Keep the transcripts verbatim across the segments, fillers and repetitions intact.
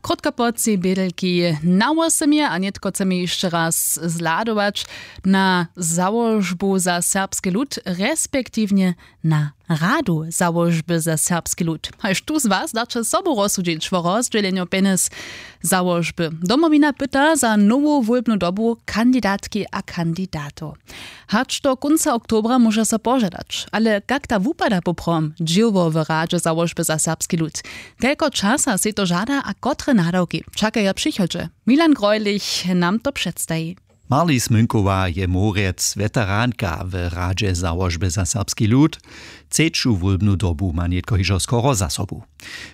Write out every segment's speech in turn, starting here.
Krótko po třej bědelki na wosomje a nětko chcemy hišće raz zhladować na załožbu za serbski lud, respektiwnje na radu załožby za serbski lud. Haž tu z was daće sobu rozsudźić wo rozdźělenju pjenjez załožby. Domowina pyta za nowu wólbnu dobu kandidatki a kandidatow. Hač do kónca oktobra móže so požadać, ale kak ta wupada poprawom dźěło w radźe załožby za serbski lud? Kelko časa sej to žada a kotre nadawki čakaja w přichodźe? Milan Greulich nam to předstaji. Marli Smynkowa je morjec weteranka w radźe załožby za serbski lud. Třeću wólbnu dobu ma nětko hižo skoro za sobu.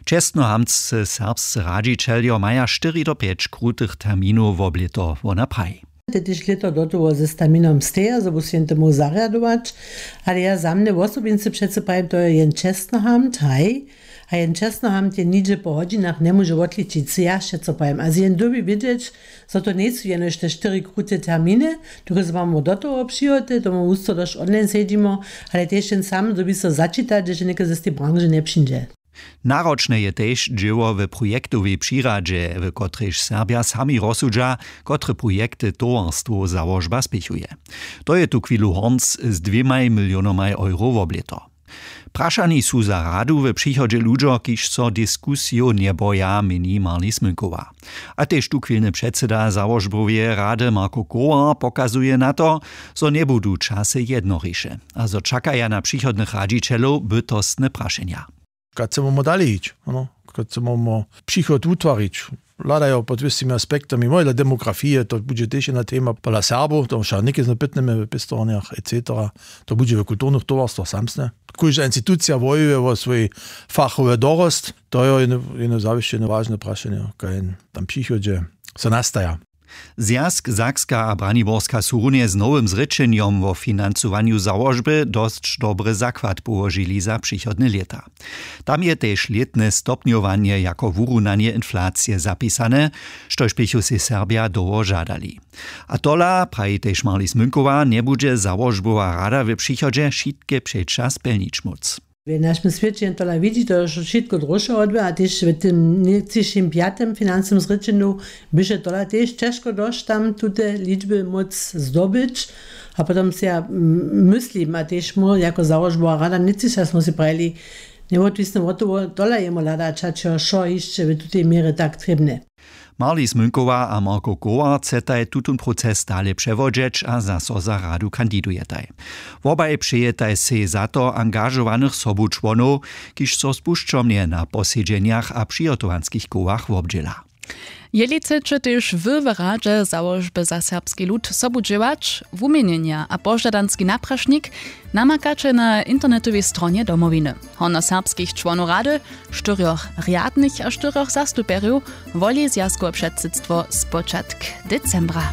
Čestnohamtscy serbscy radźićeljo maja štyri do pjeć krutych terminow wob lěto, wona praji. Te tež lěto do toho ze staminom steja, zo bu sej jen temu zarjadować. Ale ja za mnje wosobincy přeco prajim, to je jen čestnohamt, haj. A jen čestnohamt je nihdźe po hodźinach njemóže wotličić, sej ja přeco prajim. A z jen dyrbi wědźeć, zo to njejsu jenož te štyri krute terminy, dokelž mamo do toho přihoty, tomu wusto došć online sedźimo, ale tež jen sam dyrbi so začitać, hdźež něke z tej branže njepřińdźe. Naročne je tež dźěło w projektowej přiradźe, w kotrejž Serbja sami rozsudźa, kotre projekty towarstwow załožba spěchuje. To je tuchwilu hornc z dwěmaj milionomaj euro wob lěto. Prašani su za radu w přichodźe ludźo, kiž so diskusijow njeboja, měni Marli Smynkowa. A tež tuchwilny předsyda załožboweje rady Marko Kowar pokazuje na to, zo njebudu časy jednoriše a zo čakaja na přichodnych radźićelow bytostne prašenja. Kak chcemy dale hić, ano, kak chcemy přichod wutwarić? Hladajo pod wěsćimi aspektami, móhla demografije, to budźe tež jedna tema pola Serbow, to wšak něke zno pytnemy w pěstowarnjach et cetera. To budźe w kulturnych towarstwach samsne. Kóžda institucija wojuje wo swój fachowy dorost. To je jedno, jedno zawěsće jedno wažne prašenje, kaj tam přichodźe so nastaja. Zwjazk Sakska a Braniborska su runje z nowym zrěčenjom wo financowanju załožby dosć dobry zakład połožili za přichodne lěta. Tam je tež lětne stopnjowanje jako wurunanje inflacije zapisane, štož běchu sej Serbja dołho žadali. A tola, praji tež Marli Smynkowa, njebudźe załožbowa rada w přichodźe wšitke přeća spjelnić móc. W našim swěće tola widźi to wšitko dróše wotběh a tež w tym njećišim pjatym financnym zrěčenju běše tola tež ćežko dosć tam tute ličby móc zdobyć. A potom sej ja, mm, myslim a tež mór jako załožbowa rada nětřiša smy sej prajili, njewotwisny wot toho tola jemu hladać hač jo wšo hišće w tutej měrje tak trěbne. Marli Smynkowa a Marko Kowar chcetaj tutón proces dale přewodźeć a zaso za radu kandidujetaj. Wobaj přejetaj sej za to angažowanych sobučłonow, kiž so spušćomnje na posedźenjach a přihotowanskich kołach wobdźěla. Jeli chceće tež wy w radźe załožby za serbski lud sobu dźěłać, wuměnjenja a požadanski naprašnik namakaće na internetowej stronje Domowiny. Hornjoserbskich čłonow rady, štyrjoch rjadnych a štyrjoch zastupjerjow, woli zwjazkowe předsydstwo spočatk decembra.